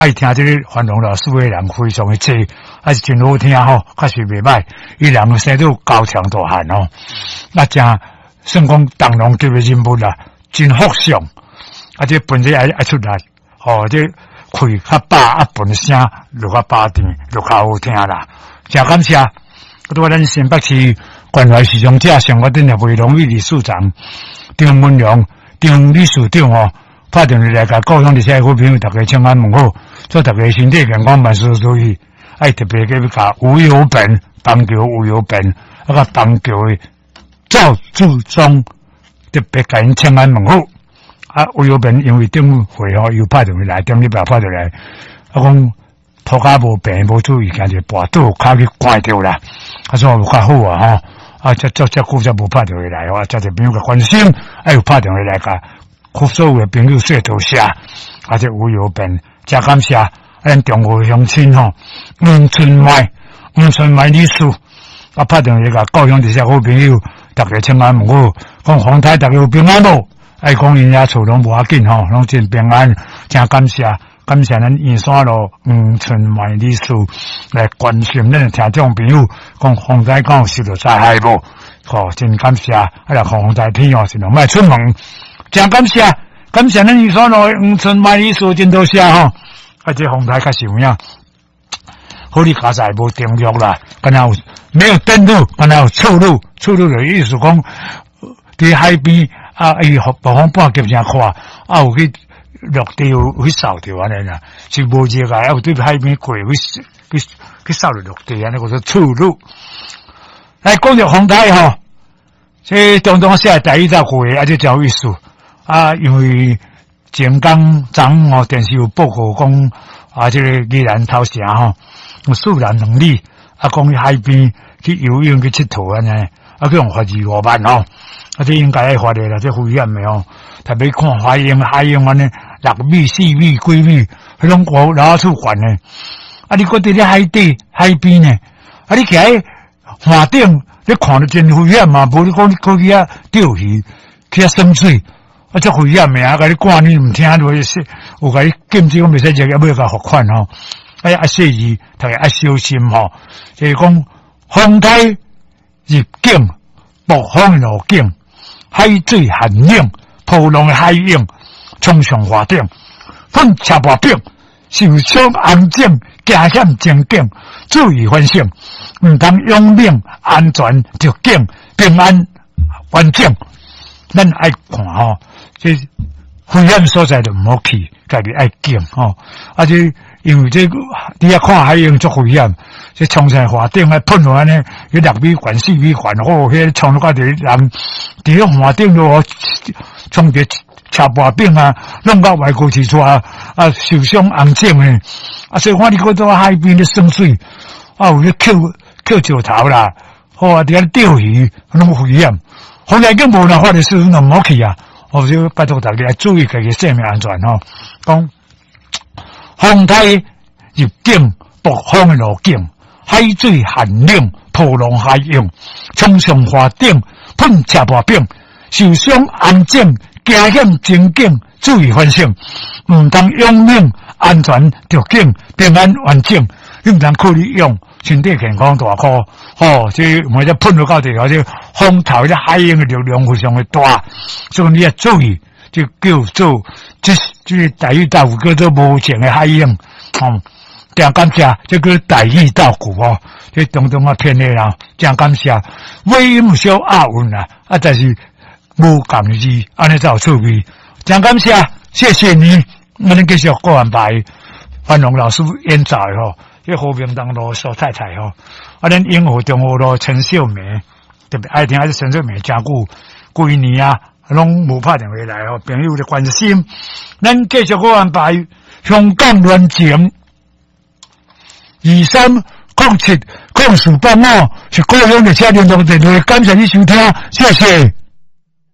愛聽這个范龍老師的人非常的濟，還是真好聽吼，確實袂䆀。伊人生做高強大漢吼，那誠算講重量級的人物啦，真福相。啊，這本身愛愛出力，吼，這氣較飽啊，本聲落較飽甜，落較好聽啦。誠感謝，拄仔咱新北市關懷視障者生活頂的魏榮玉理事長張文良張理事長吼，拍電話來共故鄉這些好朋友，逐家請安問好，祝逐家身體健康，萬事如意。愛特別去共吳有本邦橋吳有本，啊共邦橋的趙志忠特別共𪜶請安問好。啊，吳有本因為頂回吼又拍電話來，頂禮拜拍電話來，啊講塗跤無平，無注意，行一個跋倒，跤去捾著啦。啊，所以有較好啊吼。啊，這這這久才無拍電話來，啊，遮濟朋友共關心，啊，又拍電話來共所有的朋友說多謝。啊，這吳有本，誠感謝。啊，咱中和鄉親吼，黃春邁，黃春邁女士，啊，拍電話共故鄉這些好朋友，逐家請安問好，講洪太逐家有平安無？愛講𪜶遐厝攏無要緊吼，攏真平安，誠感謝，感謝咱圓山路黃春邁女士來關心咱的聽眾朋友，講洪災敢有受著災害無？吼，真感謝，啊，若風災天哦，盡量莫出門，誠感謝，感謝咱圓山路黃春邁女士，真多謝吼。啊，這風台確實有影，好你佳哉無登陸啦，敢若有沒有登陸，敢若有觸陸，觸陸的意思講，佇海邊啊，伊暴風半徑誠闊，啊有去陸地有去掃著按呢啦，是無熱啊，啊有對海邊過去去去掃著陸地，按呢叫做觸陸。來講著風台吼，這中東寫台語鬥過，啊，這誠有意思啊，因為前工昨昏吼電視有報告講啊，這個宜蘭頭城吼，有四男兩女啊，講去海邊去游泳去𨑨迌按呢，啊去予罰25萬吼，啊這應該愛罰的啦，這危險的吼，特別看海湧海湧按呢，6米、4米、幾米，彼攏高老處懸的，啊你閣佇咧海底海邊呢，啊你徛佇岸頂，你看著真危險嘛，無你講你閣去遐釣魚，去遐耍水。啊，足危險的啊！共你趕你毋聽，落去有共你禁止講袂使入，抑欲共罰款吼。哎，愛細膩，逐家愛小心吼。就是講風台入境，暴風的路徑，海水寒冷，波浪的海湧，衝上岸頂，噴車破頂，受傷紅腫，驚險情景，注意反省，毋通勇猛，安全著緊，平安完整。咱愛看吼，這危險所在就毋好去，家己愛警吼。啊，這因為這佇遐看海湧足危險，這衝上岸頂啊噴落按呢，彼6米懸、4米懸，吼，彼個衝落到一個人佇咧岸頂落衝佇車盤頂啊，弄到外國去帶啊，受傷紅腫的。啊，所以看你閣佇海邊咧耍水，啊，有咧抾抾石頭啦，好啊，佇遐釣魚，攏危險。風台境無若發的時陣，就毋好去啊！我就拜託大家注意家己生命安全吼。講風台入境，暴風的路徑，海水寒冷，波浪海湧，衝上岸頂，噴車破頂，受傷紅腫，驚險情景，注意反省，毋通勇猛，安全著緊，平安完整，你毋通靠你勇。身體健康大箍，吼！這毋這噴落到地，這風頭這海湧的力量非常的大，所以你要注意，就叫做這這台語鬥句叫做無情的海湧，吼！誠感謝，這叫台語鬥句吼，這當中啊騙的啦，誠感謝，尾音有小押韻啦，啊，但是無仝字，按呢才有趣味。誠感謝，謝謝你，我們繼續過安排范龍老師演奏的吼。這和平東路蘇太太吼，啊，咱永和中和路陳秀梅特別愛聽，啊，這陳秀梅誠久幾年啊，攏無拍電話來吼，朋友的關心，咱繼續閣安排香港戀情23070485，是故鄉的車聯絡電話，感謝你收聽，謝謝。